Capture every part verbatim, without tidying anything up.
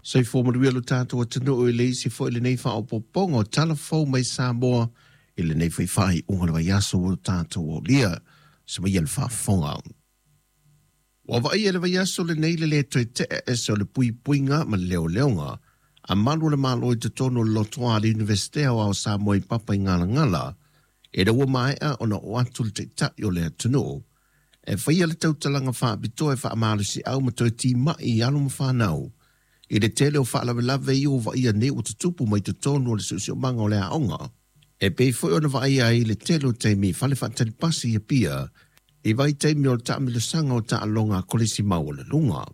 Soifua manuia lo tatou atunuu i le isi foi lenei faaopoopoga o Tala Fou mai Samoa i lenei foi faaiuga o le vaiaso ua tatou aulia. Semaia le faafofoga. Ua vaaia le vaiaso lenei le lē toe te'e ese o le puipuiga ma le leoleoga a malu o le Malo i totonu o le lotoa a le Iunivesite Aoao o Samoa i Papaigalagala, ina ua maea ona oo atu le Taitai o le atunuu e faia le tautalaga faapitoa e faamalosiau ma toe timai i alo ma fanau i le tele o faalavelave ia ua vaaia nei ua tutupu mai totonu o le siosiomaga o le aoga, e pei foi ona vaaia ai le tele o taimi fale faatalipasi i Apia i vaitaimi o le taamilosaga o taaloga a kolisi maualuluga.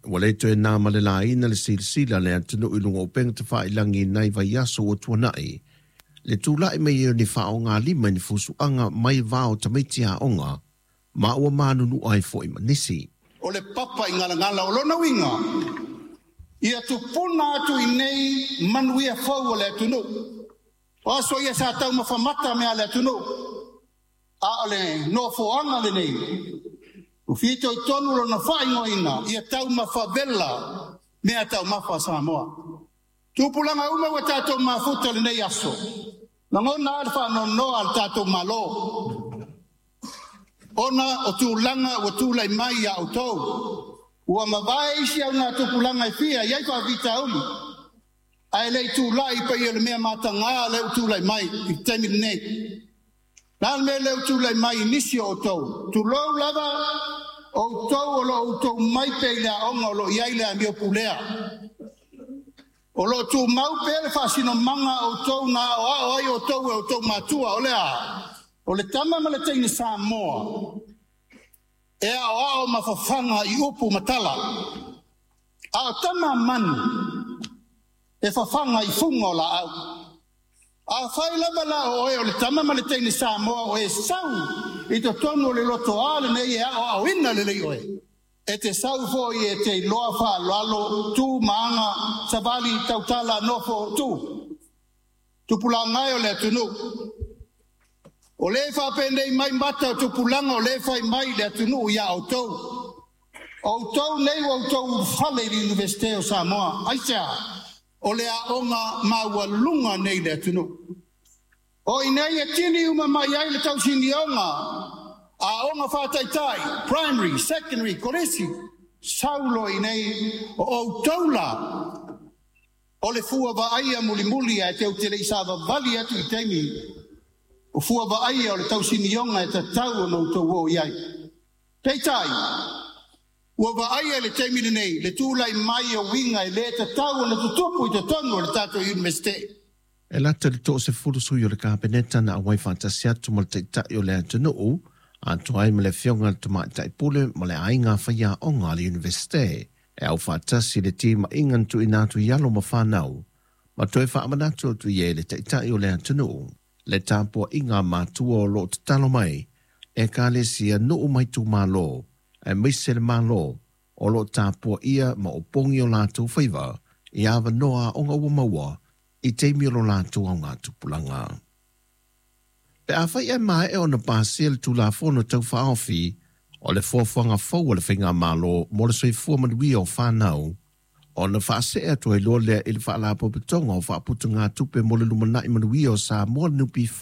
Ua le toe na ma le laina le silasila a le atunuu i luga o upega tafailagi i nai vaiaso ua tuanai, le tulai mai o ni faaaogalima i ni fusuaga mai va o tamaiti aoga, ma ua manunua ai foi ma nisi. O le Papaigalagala o lona uiga, ia tupuna atu i nei manuia fou o le atunuu. O aso ia sa taumafamata mea a le atunuu, a o le nofoaga lenei, ua fitoitonu lona faaigoaina ia taumafavela mea taumafa a Samoa. Tupulaga uma ua tatou mafuta lenei aso, lagona a le faanoanoa a le tatou Malo, ona o tulaga ua tulai mai ia outou. Ua mavae isi au ngā tupulaga e fia i ai faafitauli, ae le i tulai pei o le mea matagā lea ua tulai mai i le taimi lenei. La le mea lea ua tulai mai i nisi o outou, tulou lava, outou o lo o outou mai pea i le aoga o lo o i ai le amio pulea. O lo o tumau pea le faasinomaga a outou na aoao ai outou e outou matua, o le a? O le tama ma le teine Samoa e aoao ma fafaga i upu ma tala, a o tama manu e fafaga i fuga o laau. A fai lava la o oe o le tama ma le teine Samoa o e sau i totonu o le lotoa lenei e aoaoina lelei oe, e te sau foi e te iloa faaaloalo tu ma aga, savali, tautala, nofo, tu. Tupulaga e o le atunuu, o le faapenei mai mata o tupulaga o le fai mai le atunuu ia outou. Outou nei ua outou ulufale i le Iunivesite o Samoa. Aisea? O le aoga maualuga nei le atunuu. O i nei e tini uma mai ai le tausinioga, aoga faataitai, primary, secondary, kolisi, saulo i nei o outou la, o le fua vaaia mulimuli ae tou te le i savavali atu i taimi o fua vaaia o le tausinioga e tatau ona outou o i ai. Peitai, ua vaaia i le taimi lenei le tulai mai o uiga e le tatau ona tutupu i totonu o le tatou Iunivesite. E lata i le toasefulu sui o le Kapeneta na auai faatasi atu ma le Taitai o le atunuu, atoa ai ma le Afioga i le Tamaitai Pule ma le aiga faiaoga a le Iunivesite, e au faatasi i le timaiga na tuuina atu i alo ma fanau, ma toe faamanatu atu i ai le Taitai o le atunuu le tapuaiga a matua o lo o tatalo mai ekalesia, nuu ma itumalo, aemaise le Malo o lo o tapuaia ma opogi o latou faiva i avanoa aoga ua maua i taimi o lo latou augatupulaga. Pe afai ae maea ona pasia le Tulafono Tau Faaofi o le Fuafuaga Fou a le Faigamalo mo le Soifua Manuia o Fanau, ona faasee atu ai loa lea i le Faalapotopotoga o Faaputugatupe mo le Lumanai Manuia o Samoa, le N P F,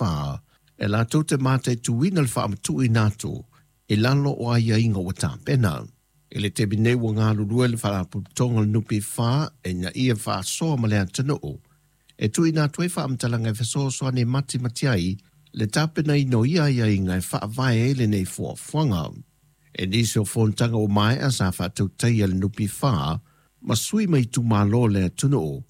e latou te mataituina le faamatuuina atu i lalo o aiaiga ua tapena. I le taimi nei ua galulue le Faalapotopotoga o le N P F ina ia faasoa ma le atunuu e tuuina atu ai faamatalaga e fesoasoani e matimati ai le tapenaina o ia aiaiga e faavae ai lenei fuafuaga. E nisi o fonotaga ua maea sa faatautaia le N P F ma sui mai itumalo o le atunuu